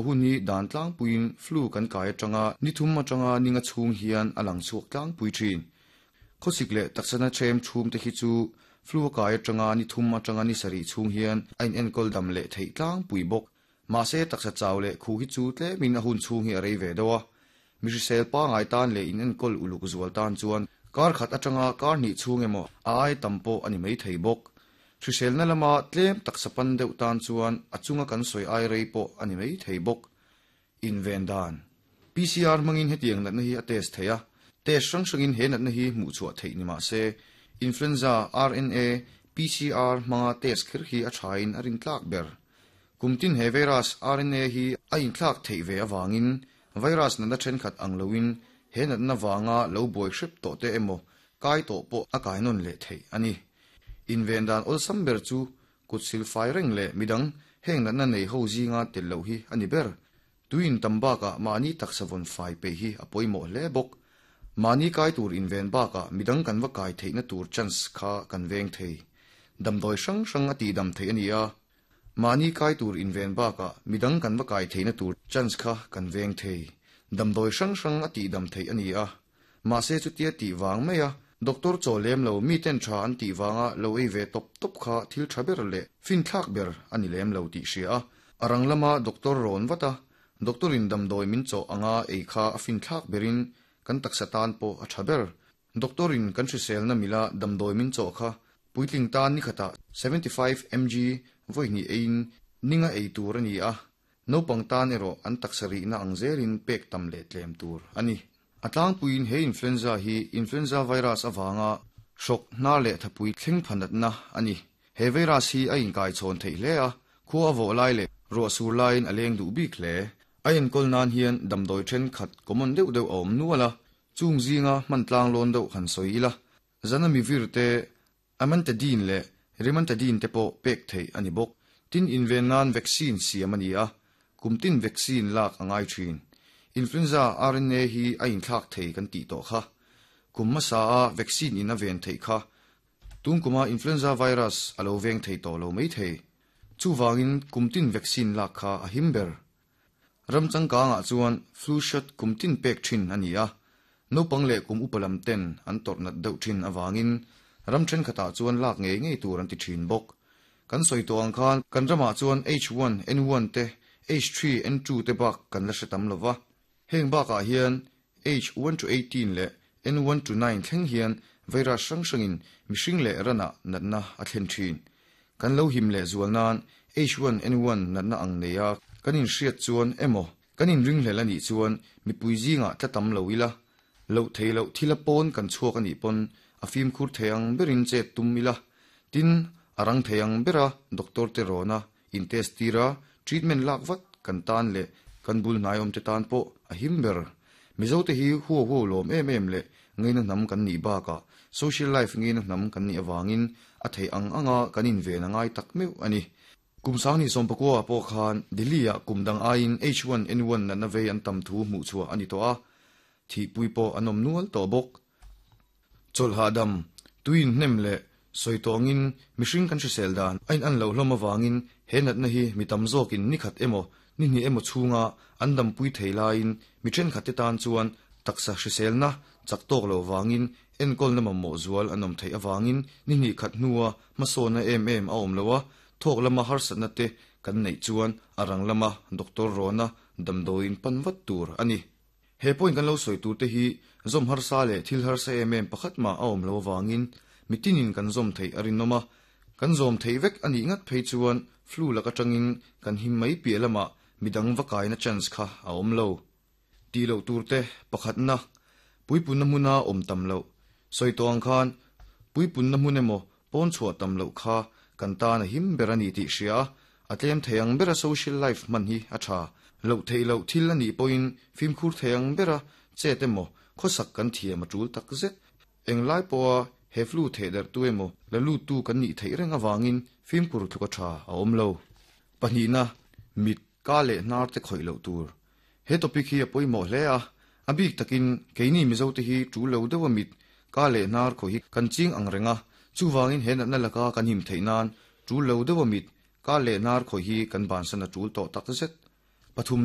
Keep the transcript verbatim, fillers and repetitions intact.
Hun hi dan tlangpuiin flu kan kai atanga ni thum atanga ninga chhung hian a lang chhuak tlangpui thin. Khawsik leh taksa na them thum te hi chu flu a kai atanga ni thum atanga ni sarih chhung hian a in enkawl dam leh theih tlangpui bawk. Mahse taksa chau leh khu hi chu tlemin a hun chhung hi a rei ve deuh a. Mi hrisel pangai tan leh in enkawl uluk zual tan chuan kar khat atanga kar hnih chhung emaw a ai tam pawh a ni mai thei bawk. Hriselna lama tlem taksa pan deuh tan chuan a chunga kan sawi ai rei pawh a ni mai thei bawk. Inven dan P C R hmangin hetiang natna hi a test thei a. Test hrang hrangin he natna hi hmuh chhuah theih ni mahse influenza R N A P C R hmanga test kher hi a thain a rin tlak ber. Kumtin he virus R N A hi a inthlak theih ve awangin virus natna thenkhat ang loin he natna wanga lo buai hrep tawh te emaw kai tawh pawh a kai nawn leh theih ani. Inven dan awlsam ber chu kut sil fai reng leh midang heng natna nei ho zinga tel lo hi ani ber. Tuin tambaka mahni taksa vawn fai pe hi a pawimawh hle bawk. Mahni kai tur inven bakah midang kan va kai theihna tur chance kha kan veng thei. Damdawi hrang hrang a ti dam thei ani a. Mahni kai tur inven bakah midang kan va kai theihna tur chance kha kan veng thei. Damdawi hrang hrang a ti dam thei ani a. Mahse chutia ti wang mai a. Doctor chaw lem lo mi ten tha an ti wanga lo ei ve top top kha thil tha ber le fin thlak ber ani lem lo ti hria a. Arang lama doctor rawn vata. Doctor in damdawi min chaw anga ei kha a fin thlak berin kan taksa tan pawh a tha ber. Doctor in kan hriselna mila damdawi min chaw kha puitling tan ni khata seventy five milligrams voi ni ein ninga ei tur ani a. Naupang tan erawh an taksa rihna ang zelin pek tam leh tlem tur ani. A tlangpuiin he influenza hi influenza virus awanga hrawk hna leh thapui thleng phanatna ani. He virus hi a inkai chhawn theih hle a. Khua a vawh lai leh ruah sur laiin a leng duh bik hle. A enkawl nan hian damdawi thenkhat common deuh deuh a awm nual a. Chung zinga hman tlang lawn deuh han sawi ila. Zana mi vir te amantadine leh rimantadine te pawh pek theih ani bawk. Tin inven nan vaccine siam ani a. Kumtin vaccine lak angai thin. Influenza R N A hi a inthlak thei kan tih tawh kha. Kum hmasa a vaccine in a ven theih kha. Tum kuma influenza virus a lo veng thei tawh lo mai thei. Chuwangin kumtin vaccine lak kha a him ber. Ram changkangah chuan flu shot kumtin pek thin ani a. Naupang leh kum upalam ten an tawrh nat deuh thin awangin ram thenkhatah chuan lak ngei ngei tur an ti thin bawk. Kan sawi tawh ang khan kan ramah chuan H one N one te H three N two te bak kan la hre tam lova. Heng bakah hian H one to eighteen leh N one to nine thleng hian virus hrang hrangin mihring leh rana natna a thlen thin. Kan lo him leh zual nan H one N one natna ang nei a kan in hriat chuan emaw kan in ring hlel anih chuan mipui zinga tla tam lo ila. Lo thei lo thila pawn kan chhuak anih pawn a fim khur theiang berin che tum ila. Tin arang theiang bera doctor te rona in test tira treatment lak vat kan tan leh kan bul hnai awm te tan pawh a him ber. Mizo te hi huo huo lawm em em leh ngeina hnam kan nih bakah social life ngeina hnam kan nih awangin a thei ang anga kan in ven angai tak meuh ani. Kum sang ni sawm pakua pawh khan Delhi ah kum dang aiin H one N one natna vei an tam thu hmuh chhuah ani tawh a. Thi pui pawh an awm nual tawh bawk. Chawlhah dam tuin hnem leh sawi tawngin mihring kan hrisel dan a in an lo hlawm awangin he natna hi mi tam zawkin ni khat emaw ni hnih emaw chhunga an dam pui thei laiin mi thenkhat te tan chuan taksa hriselna chak tawk lo wangin enkawlna mamawh zual an awm theih awangin ni hnih khat hnua hmasawna em em a awm lo a. Thawk lama harsatna te kan neih chuan a rang lama doctor rona damdawiin pan vat tur ani. He point kan lo sawi tur te hi zawm harsa leh thil harsa em em pakhat ma a awm lo awangin mitinin kan zawm theih a rinawm a. Kan zawm theih vek anih ngat phei chuan flu laka tangin kan him mai piah lama midang va kaina chance kha a awm lo. Ti lo tur te pakhatna puipunna hmuna awm tam lo. Sawi tawh ang khan puipunna hmun emaw pawn chhuah tam lo kha kan tan a him ber ani tih hria a. A tlem theiang bera social life hman hi a tha. Lo thei lo thil ani pawhin fimkhur theiang bera chet emaw khawsak kan thiam a tul tak zet. Englai pawha he flu thei der tu emaw la lut tu kan nih theih reng awangin fimkhur thluka tha a awm lo. Pahnihna mit ka leh hnar te khawih loh tur. He topic hi a pawimawh hle a. A bik takin keini Mizo te hi tul lo deuh a mit ka leh hnar khawih hi kan ching ang renga. Chuwangin he natna laka kan him theih nan tul lo deuh a mit ka leh hnar khawih hi kan bansan a tul tawh tak zet. Pathum na.